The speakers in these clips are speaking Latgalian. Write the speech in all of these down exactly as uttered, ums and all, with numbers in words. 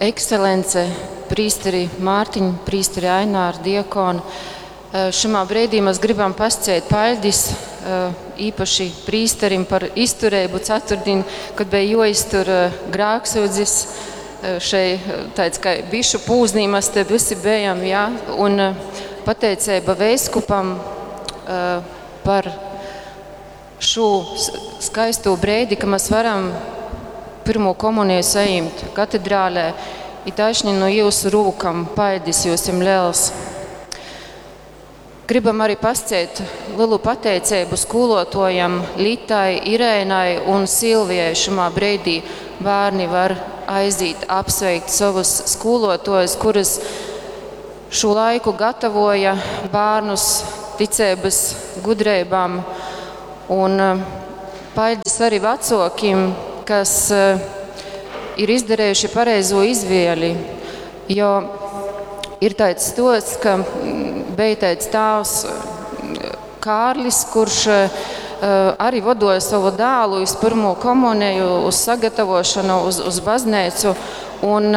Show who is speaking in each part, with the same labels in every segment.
Speaker 1: Ekscelence, prīsteri Mārtiņ, prīsteri Ainār, diakoni. Šimā breidī mēs gribam pascēt paļdis īpaši prīsterim par izturēbu ceturtdien, kad bija joiztur grāksūdzis šei tāds kā bišu pūznī mēs te visi bijam, jā, un pateicība veiskupam par šo skaisto breidi, ka mēs varam pirmo komuniju sajimt katedrālē, i taišni no jūsu rūkam paļdis jūsim liels. Gribam arī pasciet lielu pateicību skolotojam Litai, Irēnai un Silvijai. Šimā breidī bērni var aiziet apsveikt savus skolotojus, kuras šo laiku gatavoja bērnus ticības gudrībām. Un paļdis arī vecokim, kas ir izdarījuši pareizo izvēli, jo ir tāds stosts, ka bija tāds tēvs Kārlis, kurš arī vadoja savu dēlu uz pirmo komuniju, uz sagatavošanu, uz, uz baznīcu, un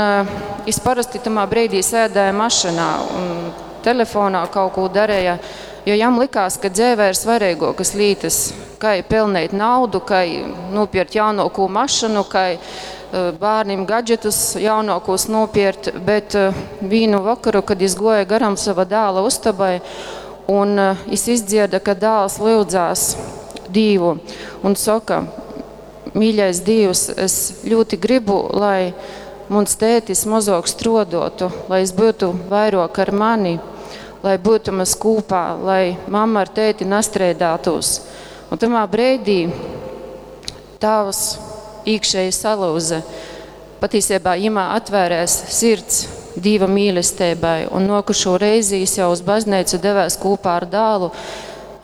Speaker 1: es parasti tamā brīdī sēdēju mašīnā un telefonā kaut ko darīja, jo jam likās, ka dzīvē ir svarīgākas lietas, kā pelnīt naudu, kā nopirkt jaunāko mašīnu, kā bērniem gadžetus jaunākos nopirkt, bet vienu vakaru, kad es goju garam sava dēla ustabai, un es izdzirdu, ka dēls lūdzās Dievu un saka, mīļais Dievs, es ļoti gribu, lai mans tētis mazāk strodotu, lai es būtu vairāk ar mani, lai būtu mēs kopā, lai mamma ar tēti nastrēdātos. Un tamā brīdī tēvs iekšēji salūza. Patiesībā jimā atvērēs sirds Dieva mīlestībai, un nokušo reizi es jau uz baznīcu devēs kopā ar dēlu,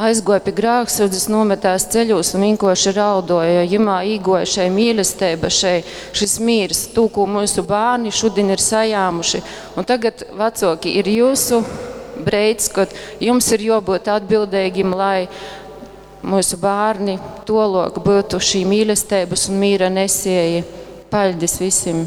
Speaker 1: aizgoja pie grāksūdzes, nometās ceļos un vienkārši raudoja, jo jimā īgoja šai mīlestība, šai, šis mīrs, tū, ko mūsu bērni šodien ir sajāmuši. Un tagad, vecoki, ir jūsu breids, kad jums ir jābūt atbildīgiem, lai mūsu bērni tolok būtu šī mīlestības un mīra nesēji. Paļdis visiem!